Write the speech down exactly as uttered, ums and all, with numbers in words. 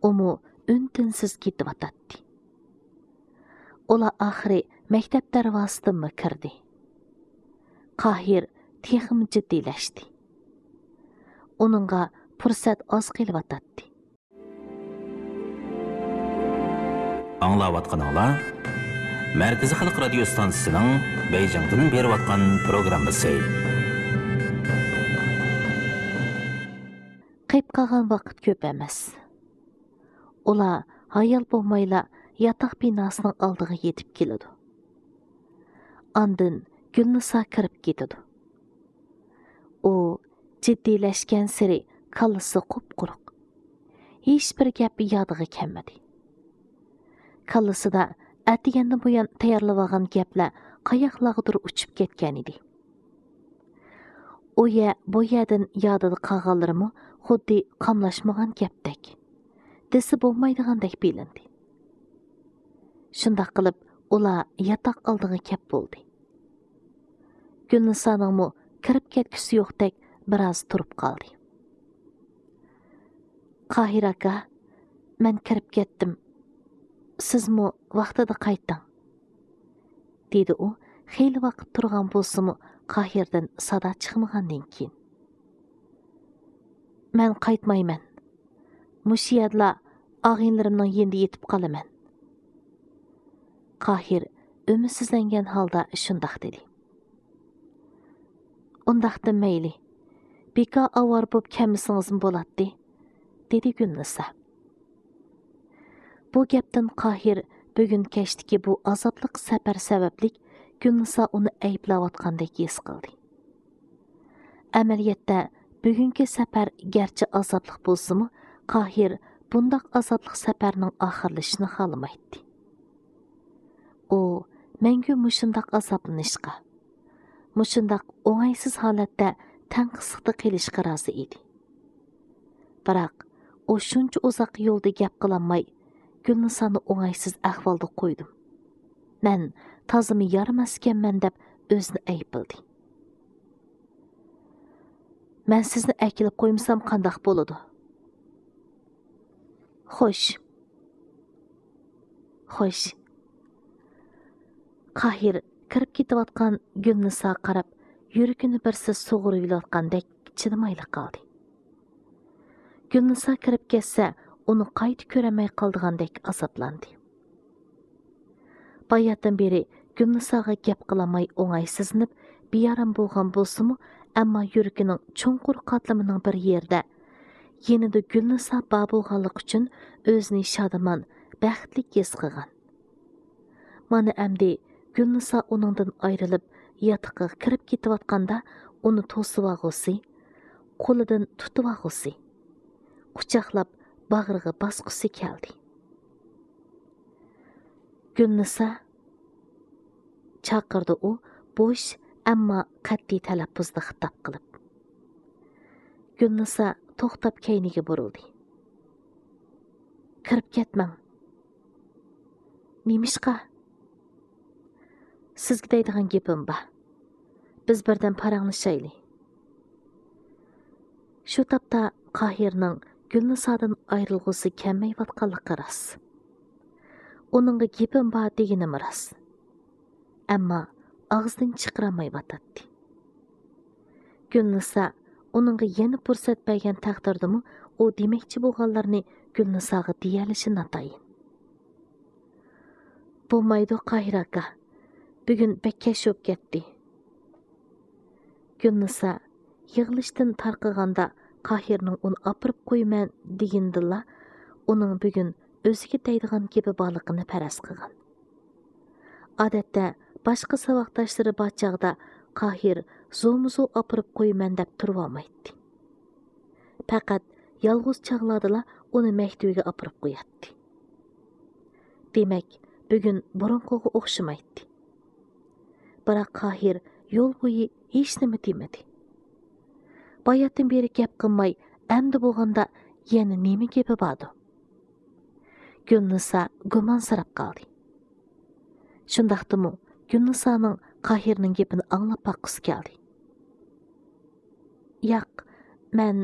ئۇمۇ ئۈن-تىنسىز كېتىۋاتاتتى. ئۇلار ئاخىرى مەكتەپ دەرۋازىسىدىنمۇ كىردى. قاھىر تېخىمۇ جىددىيلەشتى. ئۇنىڭغا پۇرسەت ئاز قېلىۋاتاتتى. ئاڭلاۋاتقىنىڭلار مەركىزىي خەلق رادىيو ستانسىسىنىڭ بېيجىڭدىن بېرىۋاتقان پروگراممىسى. قېلىپ قالغان ۋاقىت كۆپ ئەمەس. ئۇلار ھايال بولمايلا ياتاق بىناسىنىڭ ئالدىغا يېتىپ كېلىدۇ. ئاندىن گۈلنىسا كىرىپ كېتىدۇ. ئۇ جىددىيلەشكەنسېرى كاللىسى قۇپقۇرۇق. ھېچبىر گەپ يادىغا كەلمىدى. كاللىسىدا ئەتىگەندىن بۇيان تەييارلىۋالغان گەپلەر قاياقلارغىدۇر ئۇچۇپ كەتكەنىدى. ئۇ يەر، بۇ يەردىن يادىدا قالغانلىرىمۇ خۇددى قاملاشمىغان گەپتەك، دېسە بولمايدىغاندەك بىلىندى. شۇنداق قىلىپ، ئۇلار ياتاق ئالدىغا كەپ بولدى. گۈلنىسانىڭمۇ كىرىپ كەتكۈسى يوقتەك بىراز تۇرۇپ قالدى. «قاھىر ئاكا، مەن كىرىپ كەتتىم. سىزمۇ ۋاقتىدا قايتىڭ.» دېدى ئۇ، خېلى ۋاقىت تۇرغان بولسىمۇ، قاھىردىن سادا چىقمىغاندىن كېيىن. «مەن قايتمايمەن. مۇشۇ يەردىلا ئاغىنىلىرىمنىڭ يېنىدا يېتىپ قالىمەن.» قاھىر ئۈمىدسىزلەنگەن ھالدا شۇنداق دېدى. «ئۇنداقتا مەيلى، بىكار ئاۋارە بولۇپ كەلمىسىڭىزمۇ بولاتتى»، دېدى گۈلنىسا. بۇ گەپتىن قاھىر بۈگۈن كەچتىكى بۇ ئازابلىق سەپەر سەۋەبلىك گۈلنىسا ئۇنى ئەيىبلەۋاتقاندەك ھېس قىلدى. ئەمەلىيەتتە، بۈگۈنكى سەپەر گەرچە ئازابلىق بولسىمۇ، قاھىر بۇنداق ئازابلىق سەپەرنىڭ ئاخىرلىشىشىنى خالىمايتتى. ئۇ مەڭگۈ مۇشۇنداق ئازابلىنىشقا، مۇشۇنداق ئوڭايسىز ھالەتتە تەڭقىسلىقتا قېلىشقا رازى ئىدى. بىراق، ئۇ شۇنچە ئۇزاق يولدا گەپ قىلالماي، گۈلنىسانى ئوڭايسىز ئەھۋالدا قويدۇم. مەن تازىمۇ يارىماس ئىكەنمەن دەپ ئۆزىنى ئەيىبلىدى. «مەن سىزنى ئەكېلىپ قويمىسام قانداق بولىدۇ؟» «خوش.» «خوش.» قاھىر كىرىپ كېتىۋاتقان گۈلنىساغا قاراپ، يۈرىكىنى بىرسى سۇغۇرۇۋېلىۋاتقاندەك چىدىمايلا قالدى. گۈلنىسا كىرىپ كەتسە، ئۇنى قايتا كۆرەلمەي قالىدىغاندەك ئازابلاندى. باياتىن بېرى گۈلنىساغا گەپ قىلالماي ئوڭايسىزلىنىپ، بىئارام بولغان بولسىمۇ، ئەمما يۈرىكىنىڭ چوڭقۇر قاتلىمىنىڭ بىر يېرىدە يېنىدا گۈلنىسا بار بولغانلىقى ئۈچۈن ئۆزىنى شادىمان، بەختلىك ھېس قىلغان. مانا ئەمدى گۈلنىسا ئۇنىڭدىن ئايرىلىپ، ياتىقىغا كىرىپ كېتىۋاتقاندا، ئۇنى توسۇۋالغۇسى، قولىدىن تۇتۇۋالغۇسى، قۇچاقلاپ باغرىغا باسقۇسى كەلدى. «گۈلنىسا!» چاقىردى ئۇ بوش، ئەمما قەتئىي تەلەپپۇزدا خىتاب قىلىپ. گۈلنىسا توختاپ كەينىگە بۇرۇلدى. «كىرىپ كەتمەڭ.» «نېمىشقا؟» «سىزگە دەيدىغان گېپىم بار. بىز بىردەم پاراڭلىشايلى.» شۇ تاپتا قاھىرنىڭ گۈلنىسادىن ئايرىلغۇسى كەلمەيۋاتقانلىقى راست. ئۇنىڭغا گېپىم بار دېگىنىمۇ راست. ئەمما ئاغزىدىن چىقىرالمايۋاتاتتى. گۈلنىسا ئۇنىڭغا يەنە پۇرسەت بەرگەن تەقدىردىمۇ، ئۇ دېمەكچى بولغانلىرىنى گۈلنىساغا دېيەلىشى ناتايىن. «بولمايدۇ، قاھىر ئاكا. بۈگۈن بەك كەچ بولۇپ كەتتى.» گۈلنىسا يىغلىشتىن تارقىغاندا، قاھىرنىڭ ئۇنى ئاپىرىپ قويىمەن دېگىنىدىنلا، ئۇنىڭ بۈگۈن ئۆزىگە دەيدىغان گېپى بارلىقىنى پەرەز قىلغان. ئادەتتە، باشقا ساۋاقداشلىرى بار چاغدا قاھىر زورمۇزور ئاپىرىپ قويىمەن دەپ تۇرۇۋالمايتتى. پەقەت يالغۇز چاغلاردىلا ئۇنى مەكتىۋىگە ئاپىرىپ قوياتتى. دېمەك، بۈگۈن بۇرۇنقىغا ئوخشىمايتتى. بىراق قاھىر يول بويى ھېچنېمە دېمىدى. باياتىن بېرى گەپ قىلماي، ئەمدى بولغاندا يەنە نېمە گېپى باردۇ؟ گۈلنىسا گۇمانسىراپ قالدى. شۇنداقتىمۇ گۈلنىسانىڭ قاھىرنىڭ گېپىنى ئاڭلاپ باققۇسى كەلدى. ياق، مەن